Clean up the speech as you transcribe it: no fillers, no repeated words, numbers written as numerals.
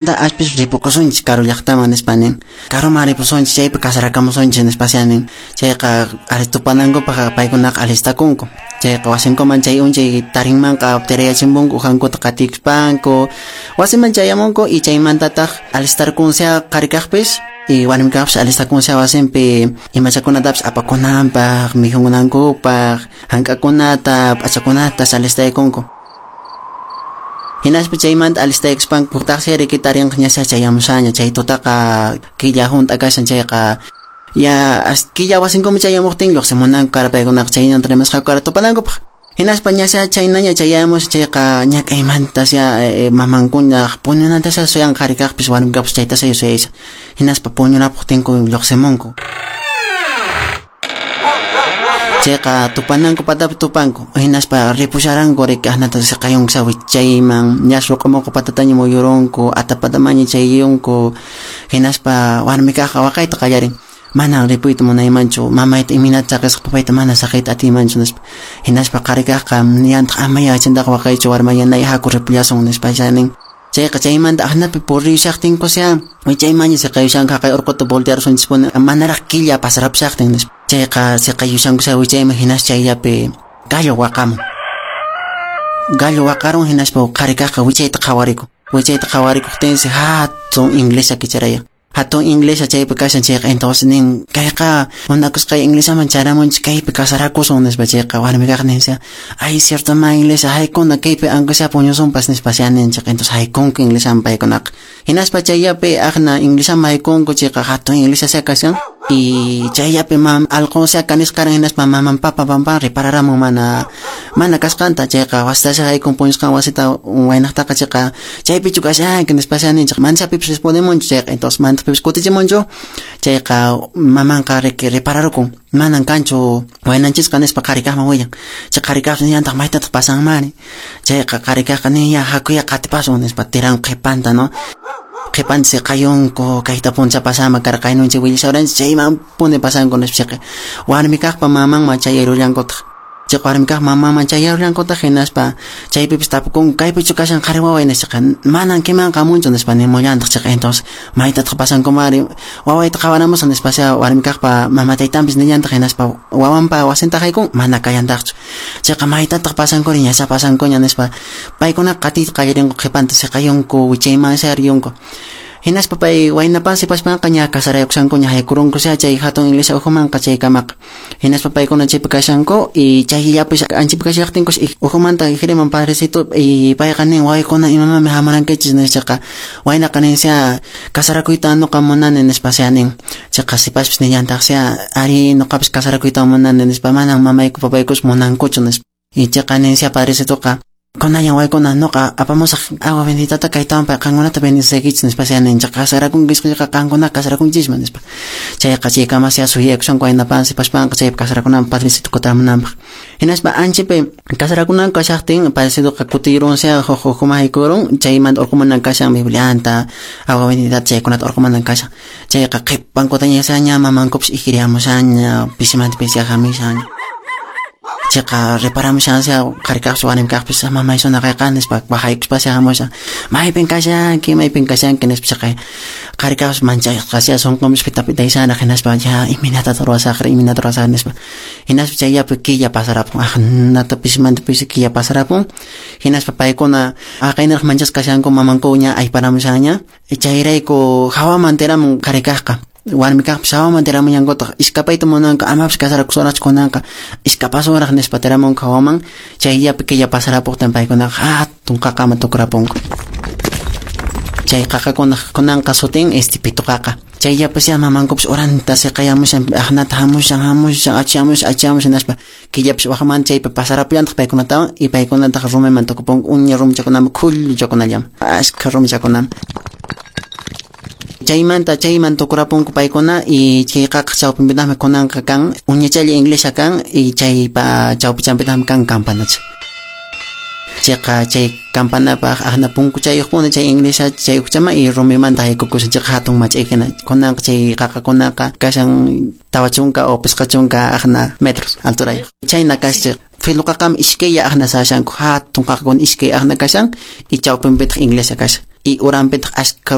Aspis ripukusunchis karu llaqtaman nispa nin. Karuman ripusunchis chaypi kasarakamusunchis nispa nin. Chayqa tupanankupaq paykunaqa alistakunku. Chayqa wasinkuman chay unchay tarinmanqa tirayachimpunku ujankuta qatikuspanku. Wasiman chayamunku y chaymantataq alistarkunsia qhari kaqpis y warmi kaqpis alistakunsia wasinpi imachakunatapis apakunanpaq, mikhunankupaq, hank'akunata, p'achakunata alistaykunku. Hinaspa chaymanta alistaykuspanku huktaqsi riki tarinqa ñasha chayamushaña chay tutaqa killa hunt'a kashan chayqa ya killa wasinkuman chayamuqtin lluqsimunanku kara paykunaqa chaynanta rimasqaku kara tupanankupaq. Hinaspa ñasha chaynaña chayamus chayqa ñak'aymantas ya mamankunaq puñunantasha suyan qhari kaqpis warmi kaqpis chaytasha suyaysa. Hinaspa puñunapuqtinku lluqsimunku. Chayqa tupananku patapi tupanku hinaspa ripusharanku riki ahnata siqayunku wichayman ñas ruq'umuqu patataña muyurunku atapatamaña chayunku hinaspa warmi kaqqa waqayta qallarin manan ripuyta munaymanchu mamayta imaynata saqisqa papayta mana saqiyta atiymanchu nispa hinaspa qhari kaqqa niyantaq ama yachantaqa waqaychu warmayanay haku ripullasun nispa nin. Chayqa chaymanta ahnapi puriyushaqtinkusya wichaymanña siqayushanku haqay urquta voltearusunchispuni manaraq killa pasarapushaqtin nispa. Chayqa siqayushankusya wichayman hinas chayllapi gallo waqamun. Gallo waqarun hinaspa qhari kaqqa wichayta qhawarikun. Wichayta qhawarikuqtinsi hatun inglesa kicharayan. Hatun inglesa chaypi kashan chayqa entonces nin kayqa munakusqay inglesaman charamunchis kaypi kasarakusun nispa chayqa warmi kaq ninsi ay cierto ma inglesa haykuna kaypi aunque sea puñusunpas nispa nin chayqa entonces haykunku inglesaman paykunaqa hinaspa chayllapi aqna inglesaman haykunku chayqa hatun inglesa sea kashan y chayllapi mam alqun sea kanisqaran hinaspa maman papa pampan repararamun mana kasqanta chayqa wastasha haykun puñusqan wasita waynaqtaqa chayqa chaypichu kashanki nispa nin chayqa mana chaypipis respondemunchu chayqa entonces manapipis kutichimunchu chayqa mamanqa repararukun manan kanchu waynanchisqa nispa qhari kaqman willan chay qhari kaqpas nillantaq maytataq pasanmari chayqa qhari kaqqa nin ya hakuya qatipasun nispa tiran qhipanta no qhipanta siqayunku kayta puncha pasama karqa kaynunchik willashawaranchik chaymanpuni pasanku nispa chayqa warmi kaqpa mamanman chayarullankutaq chayqa warmi kaq mamanman chayarullankutaq hinaspa chaypipis tapukunku kaypichu kashan qhari waway nispa manan kimanqa hamunchu nispa nimullantaq chayqa entonces maytataq pasankumari wawayta qhawaramusaq nispa warmi kaqpa mama taytanpis nillantaq hinaspa wawanpa wasinta haykun mana kallantaqchu chayqa maytataq pasankuri ñasha pasankuña nispa paykunaqa qatiyta qallarinku qhipanta siqayunku wichayman riyunku hinaspa pay waynapan sipaspanqa ña kasaraykushankuña haykurunkusya chay hatun iglesia ukhumanqa chaykamaqa hinaspa paykuna chaypi kashanku y chayllapis anchapi kashaqtinkus ukhumanta hiriman padrecito y payqa nin waykuna imamanmi hamurankichis nispaqa waynaqa ninsya kasarakuyta nuqa munani nispa nin chayqa sipaspis nillantaqsya ari nuqapis kasarakuyta munani nispa manan mamayku papaykus munankuchu nispa y chayqa ninsya padrecitoqa kunallan waykuna nuqa apamusaq agua benditata kaytawan pay qankunata bendiciykichis nispa nin chayqa kasarakunkichis chayqa qankuna kasarakunchisman nispa chayqa chaykamasya suyakushanku waynapan sipaspanqa chaypi kasarakunanpaq padrecito kutiramunanpaq hinaspa anchapi kasarakunanku kashaqtin padrecitoqa kutirunsia huk ukhuman haykurun chaymanta urqumanan kashan biblianta agua benditata chaykunata urqumanan kashan chayqa qhipankutaña ña mamankupis ikiriamushaña pisimanta pisi hamishaña chayqa reparamushansia qhari kaqpis warmi kaqpis mamay sunaqayqa nispa waqaykuspa hamushan maypin kashanki maypin kashanki nispa chayqa qhari kaqpis manchasqasya sunqunpis pitapitayshanaq hinaspa ya imaynatataq ruwasaqri imaynata ruwasaq nispa hinaspa chayllapi killa pasarapun aqnata pisimanta pisi killa pasarapun hinaspa paykuna aqaynaraq manchasqa kashanku mamanku ña ayparamushanña chayrayku hawaman tiramun qhari kaqqa warmi kaqpis hawaman tiramullankutaq iskapayta munanku amapis kasarakusunraqchu kunanqa iskapasunraq nispa tiramunku hawaman chayllapi killa pasarapuqtin paykunaqa hatun qaqaman tukurapunku chay qaqakunaq kunanqa sutin pitu qaqa chayllapis ya mamankupis uranta siqayamushan aqnata hamushan hamushan achamushan achamushan nispa killapis waqmanta chaypi pasarapullantaq paykunatawan y paykunataq rumiman tukupunku uña rumichakunaman khulluchakunallaman ashkha rumichakunaman chaymanta chayman tukurapunku paykuna y chay qaqa chawpinpitaqmi kunanqa kan uñachalla inglesa kan y chaypa chawpichanpitaqmi kan campanacha chayqa chay campanapaq aqna punkuchayuqpuni chay inglesa chay ukchama y rumimanta haykukushan chayqa hatun mach'ay hina kunanqa chay qaqakunaqa kashan 40 o 50 aqna metros alturayuq chayna kashan filo qaqam iskaylla aqna sashanku hatun qaqakuna iskay aqna kashan y chawpinpitaq inglesa kashan. Y uranpitaq askha.